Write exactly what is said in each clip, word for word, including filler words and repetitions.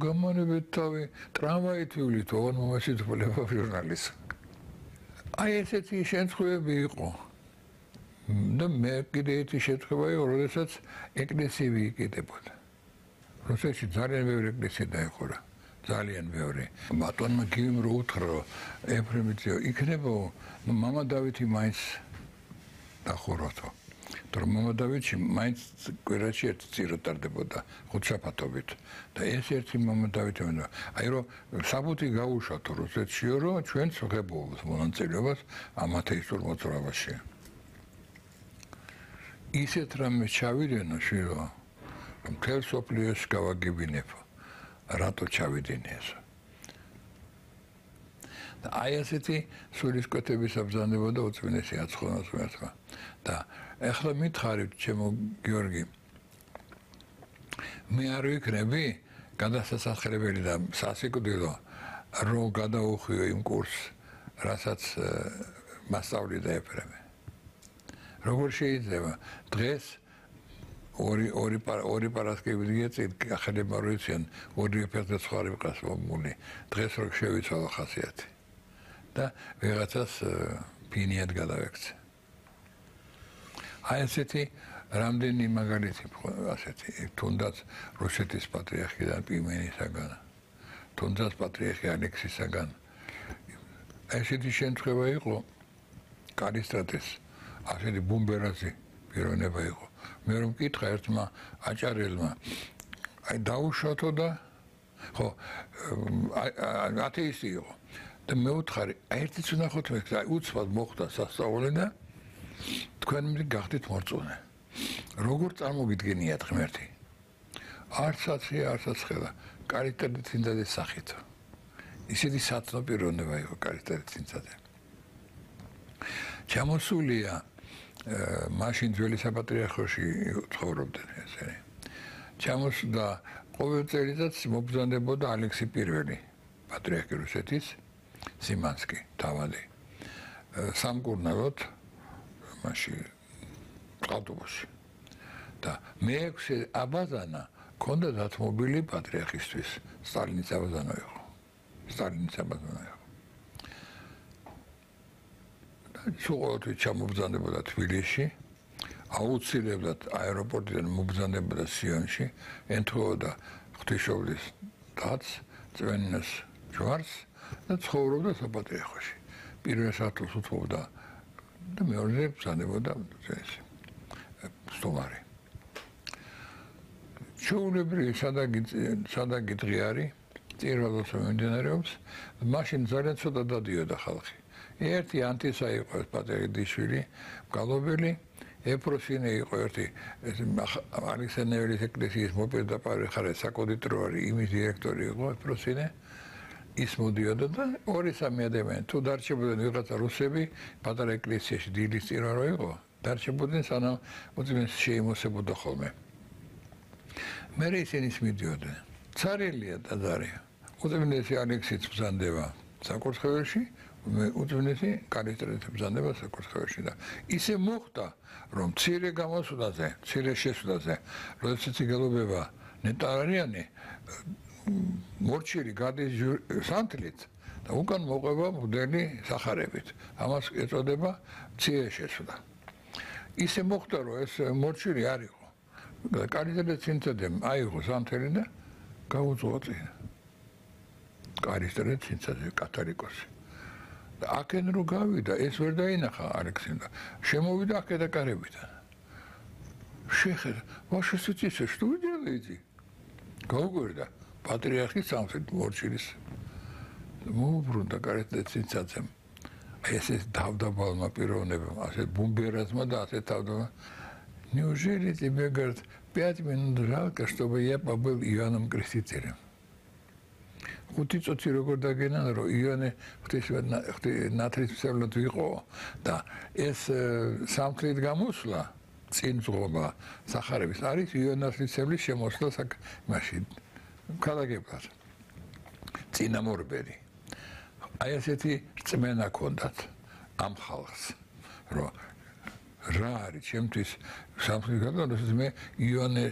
გამონებით თავი ტრამვაით ვივლით ოღონ მომაჩით ვლებავ ჟურნალისტს. აი ესეთი შემთხვევები იყო. და მე კიდე ერთი შემთხვევა იყო, როდესაც ეკლესია ვიკიდებოდა. რუსეთში ძალიან ბევრი ეკლესია დაიხურა. ძალიან ბევრი. ბატონმა გივიმ რო უთხრა ეფრემიძე იქნება მამა დავითი მაინც დახუროთო. თორემ მამა დავითი მაინც კვირაში ერთ წირო ტარდებოდა ხუთშაბათობით და ეს ერთი მამა დავითი მენდა. აი რომ საბუთი გაუშვათ რუსეთშიო რომ ჩვენ ვღებულობთ მონაწილეობას ამ ათეისტურ მოძრაობაში. ისეთ რამე ჩავიდენო შვილო რომ მთელ სოფლიოს გავაგებინებ რატო ჩავიდინე ეს და აი ასეთი სულისკვეთების აბრძანებოდა უწმინდესი აცხონოს მერტყვა და ეხლა მითხარით ჩემო გიორგი მე არ ვიქნები გადასასახლებელი და სასიკვდილო რომ გადაუხვიო იმ კურსს რასაც მასწავლიდა ეფრემე როგორ შეიძლება დღეს ორი ორი ორი პარასკევი გიეწით ახალება როიციან ორი ფერდა სხვა რიყას მომული დღეს რო შევიცვალა ხასიათი და ვიღაცას ფინიად გადავექცე აი ესეთი რამდენი მაგალითი ასეთი თუნდაც რუსეთის პატრიარქიდან პიმენისაგან თუნდაც პატრიარქი ალექსისაგან ესეთი შემთხვევა იყო კალისტრატეს ასეთი ბუმბერაზი პიროვნება იყო მე რომ მკითხა ერთმა აჭარელმა აი დაუშვათო და ხო ათეისტი იყო და მე ვუთხარი აი ერთიც ვნახოთ მე აი უცბად მოხდა სასწაული და თქვენ მე გახდით მორწმუნე როგორ წარმოგიდგენიათ ღმერთი არც აცი არც აცხელა კალიტეტი წინდადეს სახით ისეთი სათნო პიროვნება იყო კალიტეტი წინდადე ჩამოსულია მაშინ ძველი საპატრიარქოში ცხოვრობდნენ ესენი. ჩამოსდა ყოველ წელიწადს მობრძანდებოდა ალექსი პირველი, პატრიარქი რუსეთის, სიმანსკი, თავადი. სამკურნალოდ მაშინ ავტობუსში. და მეექვსე აბაზანა ქონდა დათმობილი პატრიარქისთვის, სტალინის აბაზანა იყო. სტალინის აბაზანა იყო. სულ ჩამობრძანდებოდა თბილისში, აუცილებლად აეროპორტიდან მობრძანდებოდა სიონში, ემთხვეოდა ღვთისმშობლის დაცს, წვენინას ჯვარს და ცხოვრობდა საპატრიარქოში. პირველ სართულს უთმობდა და მეორეზე ბრძანდებოდა ეს სტუმარი. ჩვეულებრივი სადაგი დღე არის, წირვალოს მიმდინარეობს, მაშინ ძალიან ცოტა დადიოდა ხალხი. ერთი ანტისა იყო პატრიარქიშვილი, გალობელი, ეფროსინე იყო ერთი ალექსანდრელის ეკლესიის მოპირდაპირე ხარე საკოდიტრო არის, იმის დირექტორი იყო ეფროსინე. ის მოდიოდა და ორი სამი ადამიანი თუ დარჩებოდნენ ვიღაცა რუსები, პატარა ეკლესიაში დილის წირვა რო იყო, დარჩებოდნენ სანამ უძმეს შეიმოსებოდა ხოლმე. მე ისინი მიდიოდნენ. ცარელია დაზარია. უძმესი ალექსიც ბრძანდება საკურთხეველში უძვნესი კალისტრატის ბრძანება საკურთხეველში და ისე მოხდა რომ მცირე გამოსვლაზე, მცირე შესვლაზე, როდესაც იგალობება ნეტარიანი მორჩილი გადის სანთლით და უკან მოყვება მღვდელი სახარებით. ამას ეწოდება მცირე შესვლა. ისე მოხდა რომ ეს მორჩილი არ იყო. კალისტრატის წინწადემ აიღო სანთელი და გაუძღვა წინ. კალისტრატის წინწადე კათოლიკოსი. აქენ რო გავიდა ეს ვერ დაინახა ალექსინდა შემოვიდა აქედა კარებიდან შეხედა ვაშე სიცისე что вы делаете გაუგვერდა პატრიარქის სამხრეთ მორჩილის მოუბრუნდა კარეთზე ცინცაცემ ეს ეს დავდაბალმა პიროვნებამ ასე бумберазма და ასე თავდავა неужели тебе говорят пять минут жалко чтобы я побыл Иваном Крестителем ხუთი წუთი როგორ დაგენა რომ იონე ღვთისმშობლად ვიყო და ეს სამთლით გამოსვლა წინ ზღობა სახარების არის იონასლისებლის შემოსვლა მაშინ ქალაქებად წინამორბედი აი ესეთი რწმენა ქონდათ ამ ხალხს რომ რა არის ჩემთვის სამთლით გამოსვლა მე იონე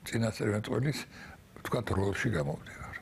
წინასწარმეტყველის თქვათ როლში გამოვდე